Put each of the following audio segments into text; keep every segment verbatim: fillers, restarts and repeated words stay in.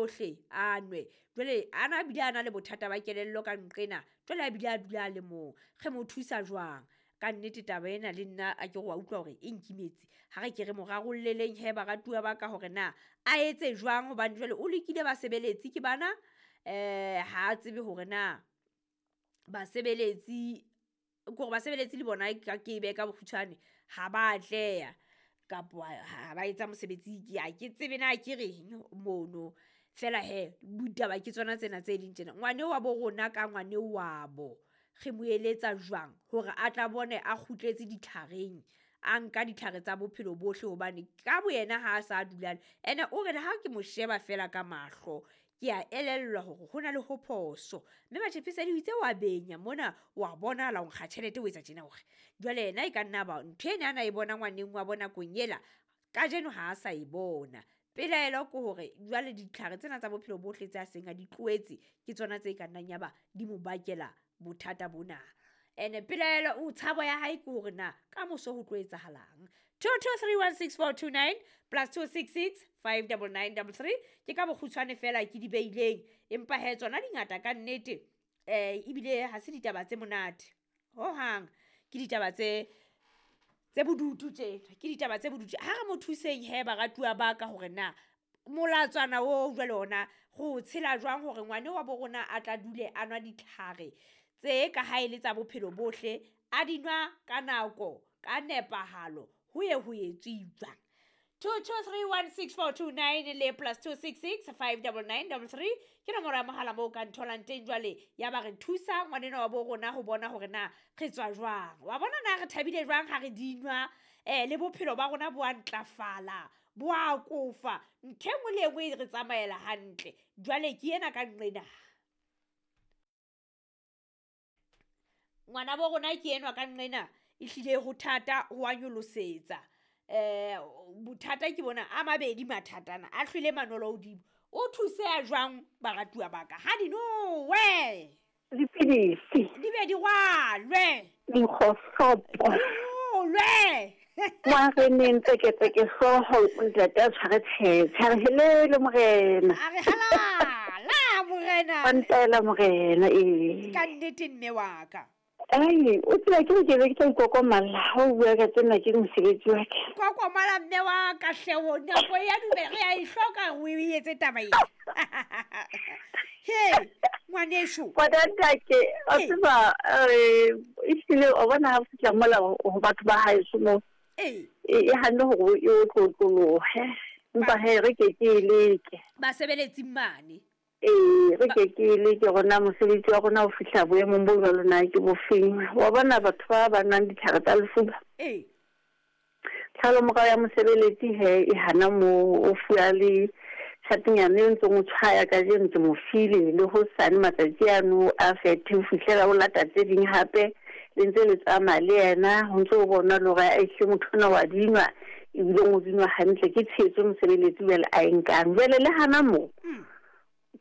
tsohle a nwe. Jwale ana bile a na le bothata ba kelello ka nqena, jwale a bile a dula a le mong. Re mo thusa jwang? Ka nnete taba ena le nna a ke re wa utlwa hore e nkimetse. Ha re ke re mo rarolleleng he baratuwa ba ka hore na a etse jwang, hobane jwale o lekile basebeletsi ke bana, eh ha a tsebe hore na basebeletsi kore basebeletsi le bona ka ke behe ka bokgutshwane ha ba atleha kapo ha ba etsa mosebetsi ke ha ke tsebe na ke reng mono. Feela hee ditaba ke tsona tsena tse leng tjena. Ngwaneo wa bo rona ka ngwaneo wa bo, re mo eletsa jwang hore a tla bone a kgutletse ditlhareng, a nka ditlhare tsa bophelo bohle, hobane ka boyena ha a sa dula. Ene o re le ha ke mo sheba feela ka mahlo, ke a elellwa hore ho na le ho phoso. Mme Matshepesedi o itse wa benya mona, wa bonahala o nkga tjhelete o etsa tjena hore. Jwale yena e ka nna ba ntho ena a na e bona ngwaneng wa bo nakong ela, kajeno ha a sa e bona. Pelaelo ke hore jwale ditlhare tsena tsa bophelo bohle tse a seng a di tlohetse, ke tsona tse ka nnang ya ba di mo bakela bothata bona. Ene pelaelo o tshabo ya hae ke hore na kamoso ho tlo etsahalang. Two two three one six four two nine plus two six six five double nine double three. Ke ka bokgutshwane feela ke di beileng, empa hee tsona di ngata ka nnete. Eh, ebile ha se ditaba tse monate hohang, ke ditaba tse tse bodutu tjena, ke ditaba tse bodutu. Ha re mo thuseng hee baratuwa ba ka hore na molatswana oo jwale ona re o tshela jwang hore ngwane wa bo rona a tla dule a nwa ditlhare tse ka ha e le tsa bophelo bohle, a di nwa ka nako, ka nepahalo, ho ye ho etswe jwang. Two two three one six four two nine le plus two six six five double nine double three ke nomoro ya mohala moo o ka ntholang teng. Jwale ya ba re thusa ngwanenwa wa bo rona ho bona hore na re tswa jwang. Wa bona na re thabile jwang ha re di nwa, eh le bophelo ba rona bo a ntlafala, bo a kofa, ntho e nngwe le e nngwe e re tsamaela hantle. Jwale ke ena ka nqena. Ngwana bo rona ke enwa ka nqena, ehlile ho thata ho a nyolosetsa. Eh bothata ke bona a mabedi mathatana a hlwele manolo hodimo. O thuseha jwang baratuwa ba ka? Ha di nowe. Dipidisi. Di be di rwalwe. Dikgohlopo. Di rolwe. Ngwaneng tseketseke hlooho, ntate a tshware tshetse. A re helele morena. A re halala morena. Wa ntaela morena, ee. Ka nnete mme wa ka. Ai, o tseba ke re ke be ke tla ikokomalla ha o bua ka tsena ke mosebetsi wa ka. Kokomala mme wa ka hle, o nako ya dumela, re a e hloka hore o e etse taba ena. He, ngwaneso. Ngwanatake, wa Ee. tseba, eh, ehlile wa bona ha o fihla mola ho batho ba haeso moo, Ee. e, e hanne hore e otlotlolohe. Empa hee, re ke ke e leke. Basebeletsi mane. Ee, re ke ke leke rona mosebetsi wa rona ho fihla boemong bo jwalo na ke bofeng. Wa bona batho ba ba nwang ditlhare tsa lefuba. Ee. Tlhalomorao ya mosebeletsi he e hana moo, o fuwa le tjhatenyana e ntseng o tshwaya kajeno ke mo file, le hosane matsatsi ano a fethe ho fihlela o lata tse ding hape, le ntse le tsamaya le yena, ho ntso o bona le hore ehlile motho ona wa dinwa, ebile o dinwa hantle, ke tshehetso mosebeletsi jwale a e nkang. Jwale le hana moo, Mm.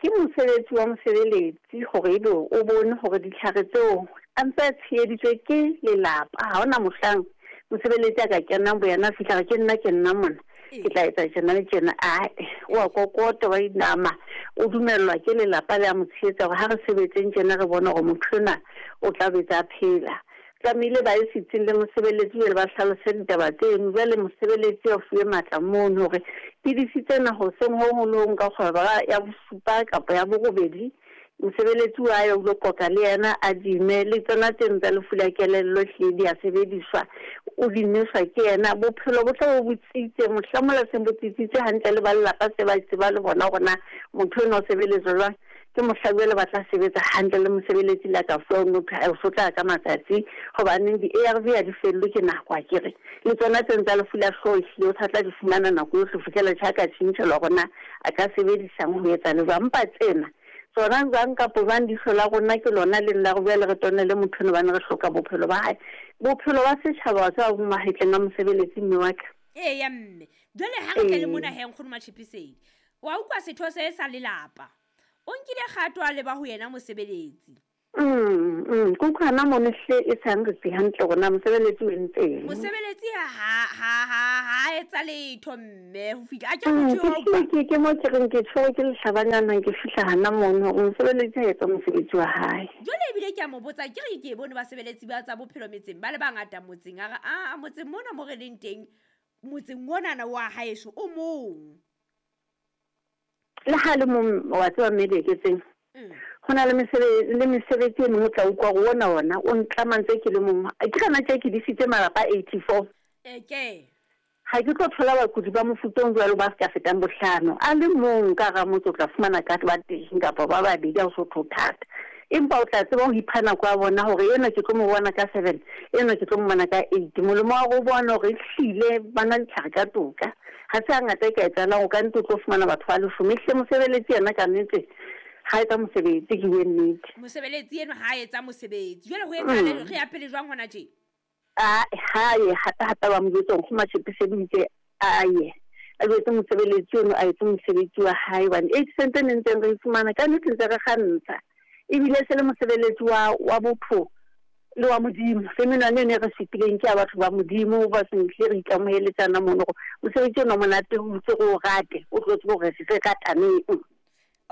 ke mosebetsi wa mosebeletsi hore ebe o bone hore ditlhare tseo a ntse a tsheheditswe ke lelapa. Ha hona mohlang mosebeletsi a ka kenang boyena a fihla re ke nna ke nna mona, ke tla etsa tjena le tjena. Ae, o a kokota, wa inama, o dumellwa ke lelapa le a mo tshehetsa hore ha re sebetseng tjena re bone hore motho enwa o tla betsa a phela. Tlamehile ba ye setsing le mosebeletsi jwale ba hlalose ditaba tseno. Jwale mosebeletsi a fuwe matla mono hore pidisi tsena hoseng ho hong le ho hong ka kgwebo ya bosupa kapa ya borobedi, mosebeletsi wa ya o lo qoqa le yena a dime le tsona tseno tsa lefu la kelello ehlile di a sebediswa, o di nweswa ke yena. Bophelo bo tla bo bo tsitse, mohla mola seng bo tsitsitse hantle le ba lelapa se ba tseba le bona hore na motho enwa o sebeletswa jwang. Ke mohla jwale ba tla sebetsa hantle le mosebeletsi le a ka fuwa motho a o sotla ka matsatsi, hobaneng di-A R V ha di fellwe ke nako akere. Le tsona tseno tsa lefu la hlooho ehlile o sa tla di fumana nako yohle ho fihlela tjha ka tjhentjhelwa hore na a ka sebedisang ho etsa le jwang. Empa tsena tsona jwang kapo jwang leihlo la rona ke lona leng la re jwale re tone le motho eno hobane re hloka bophelo ba hae. Bophelo ba setjhaba wa tseba bo mahetleng a mosebeletsi mme wa ka. Eya mme, jwale ha re tle le Ee. mona hee nkgono Matshepesedi, wa utlwa setho se sa lelapa. O nkile kgato a leba ho yena mosebeletsi. Mm, mm, ke utlwa hana mono hle e sa nretse hantle hore na mosebeletsi o entseng. Mosebeletsi ha ha ha ha etsa letho mme ho fihla a ke Mm, motho ke eo hlile ke ke mo ke reng ke tshwerwe ke lehlabanyana ke fihla hana mono hore mosebeletsi a etsa mosebetsi wa hae. Jwale ebile ke a mo botsa ke re ke bone basebeletsi ba tsa bophelo metseng ba le bangata motseng a re a motseng mona mo re leng teng motseng onana wa haeso o mong. Le ha le mong wa tseba mme Dieketseng, Mm. ho na le mesebe- le mesebetsi e meng o tla utlwa hore ona ona o ntlama ntse ke le mong. Ke gana tje ke disitse malapa a eighty-four. E ke. Ha ke tlo thola bakudi ba mofuta o jwalo ba ska fetang bohlano. A le mong ka hara motse o tla fumana ka ba teng kapa ba babedi ha o so tho thata. Empa o tla tseba ho ipha nako ya bona hore enwa ke tlo mo bona ka seven, enwa ke tlo mo bona ka eight. Molemo wa ho bona hore ehlile ba nwa ditlhare ka toka. Ha se hangata e ka etsahalang, o ka nnete o tlo fumana batho ba leshome. Ehlile mosebeletsi yena ka nnete ha etsa mosebetsi, ke bue nnete. Mosebeletsi enwa ha etsa mosebetsi. Jwale ho etsahala Mm. re ya pele jwang hona tje? A ha ye hape hape ba mo jwetsa hore Nkgono Matjhepe a ye. A jwetse mosebeletsi ono a etse mosebetsi wa hae hobane eight cent e ne ntseng re e fumana ka nnete ntse re kgantsha. Ebile se le mosebeletsi wa, wa botho le wa Modimo. Le menwana eno e re supileng ke ya batho ba Modimo ba sentle re ikamoheletsana mono hore mosebetsi ona o monate o ntse re o rate, o tlo tseba hore re rataneng.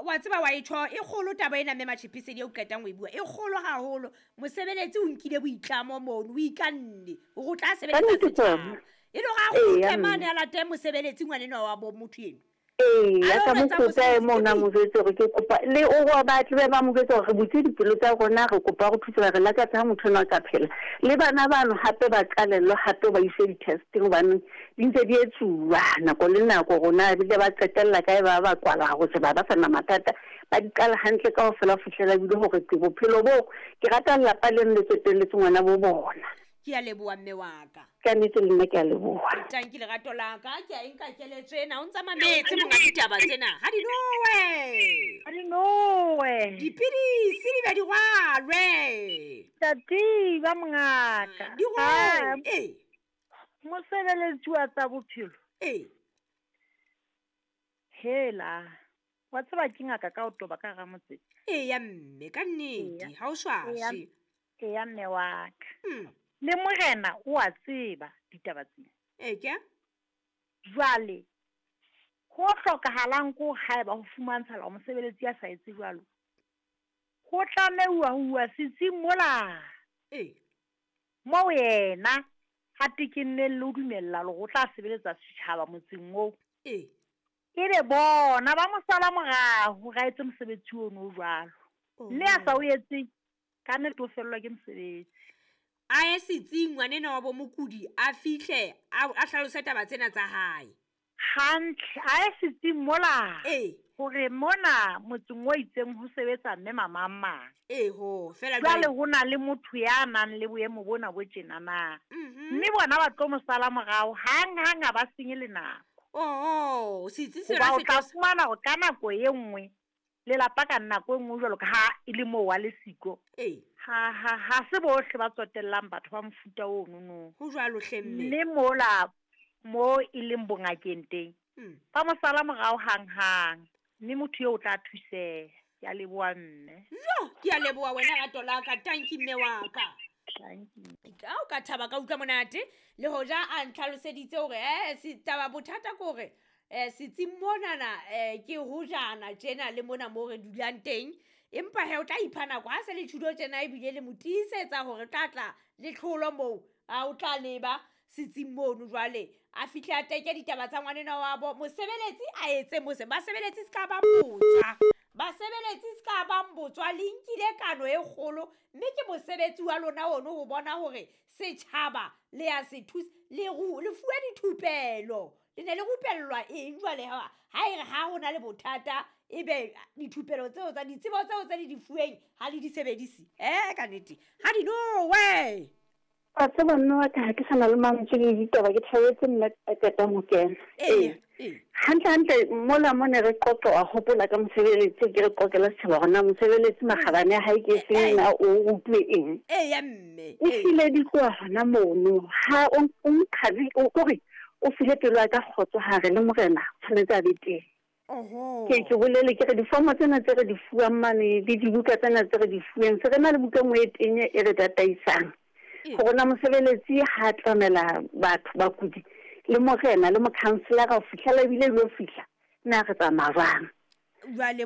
Wa tseba wa e tjho, e kgolo taba ena mme Matjhepe eo qetang ho e bua. E kgolo haholo. Mosebeletsi o nkile boitlamo mono, o ikanne hore o tla sebeletsa Kannete setjhaba. tsona. E le hore a Eya, kgutle mane mme. a late mosebeletsi ngwanenwa wa bo motho eno. Ee, A a ka lo mo etsa kopa e mosebetsi mona ke mo jwetse hore ke kopa le o wa batle be ba mo jwetse hore re butse dipelo tsa rona, re kopa ho thusa re lakatsa ha motho enwa a ka phela. Le bana bano hape ba qalellwe hape ba iswe di-testing hobane di ntse di etsuwa nako le nako rona ebile ba qetella kae ba ba kwala ho se ba ba sa na mathata. Ba di qala hantle kaofela ho fihlela ebile hore ke bophelo boo ke rata lelapa leno le tsotelletse ngwana bo bona. Ke a leboha mme wa ka. Ka nnete le nna ke a leboha. Tanki lerato la ka, ke a e nka keletso ena, o ntsa mametse monga ditaba tsena. Ha di nowe. Ha di nowe. Dipidisi di be di rwalwe. Tati ba mongaka. Di rwalwe. Ah, Eh. Mosebeletsi wa tsa bophelo. Eh. Hela. Wa tseba ke ngaka ka ho toba ka hara motse. Eya mme, ka nnete, Eya. ha o swaswe. Eya mme wa ka. Mm. Le morena o a tseba ditaba tsena. E ke? Jwale ho hlokahalang ko haeba ho fumantshala mosebeletsi ya sa etse jwalo, ho tlameuwa ho uwa setsing mola. E. Moo yena a tekenneng le ho dumella hore o tla sebeletsa setjhaba motseng oo. E. Ebe bona ba mo sala morao hore a etse mosebetsi ono o jwalo. Mme a sa o etse, ka nnete o fellwa ke mosebetsi. A ye setsing ngwanenwa wa bo mokudi, a fihle, a, a hlalose taba tsena tsa hae. Hantle, a ye setsing mola. E. Hore mona motseng o itseng ho sebetsa mme mamang mang. E ho, fela Jwale jwale ho na le motho ya nang le boemo bona bo tjena na. Mhm. Mme bona ba tlo mo sala morao, hang hang ha ba senye le nako. Oho, setsi se Hoba yona o se tla tlo fumana hore ka nako e nngwe, lelapa ka nako e nngwe jwalo ka ha e le moo wa lesiko. E. Ha, ha, ha se bohle ba tsotellang batho ba mofuta ono no. Ho jwalo hle mme. Mme mola mo e leng bongakeng teng, Mm. ba mo sala morao hang-hang, mme motho eo o tla thuseha. Ke a leboha mme. Jo, ke a leboha wena rato la ka, tanki mme wa ka. Tanki. Ka o ka thaba ka utlwa monate, le hoja a ntlhaloseditse hore, eh, se taba bothata ke hore, eh, setsing monana, eh, ke hojana tjena le mona moo re dulang teng. Empa he o tla ipha nako ha se le tjhudo tjena ebile le mo tiisetsa hore tla tla le tlholo moo, a o tla leba setsing mono jwale. A fihle a teke ditaba tsa ngwanenwa wa bo mosebeletsi a etse mose. Basebeletsi se ka ba botswa. Basebeletsi se ka ba botswa, le nkile kano e kgolo, mme ke mosebetsi wa lona ono ho bona hore setjhaba le ya se thusa, le ru-, le fuwe dithupelo. Le ne le rupellwa eng jwale ha, ha e re ha ho na le bothata, ebe dithupelo tseo tsa ditsebo tseo tse le di fuweng ha le di sebedise. Eh, ka nnete. Ha di nowe. Wa tseba mme wa ka ha ke sa na le mantswe le ditaba, ke thabetse nna a qetang ho kena. Ee, Ee. ee. Hantle, hantle, mola mo ne re qoqa, wa hopola ka mosebeletsi, ke re qoqela setjhaba hore na mosebeletsi makgabane a hae ke Eh, efeng, eh. na o utlwe eng. Eya, mme, O ee. file di tloha hona mono. Ha o, o nqhabi, o kore o file pelo ya ka kgotso hare le morena, tshwanetse a be teng. Oho. Ke ke bolele ke re difomo tsena tse re di fuwang mane le dibuka tsena tse re di fuweng, se re na le buka e nngwe e tenya e re tataisang. Ee. Gore na mosebeletsi ha tlamela batho bakudi le morena le mokhanselara ho fihlela ebile lo fihla na re tsamaya jwang. Jwale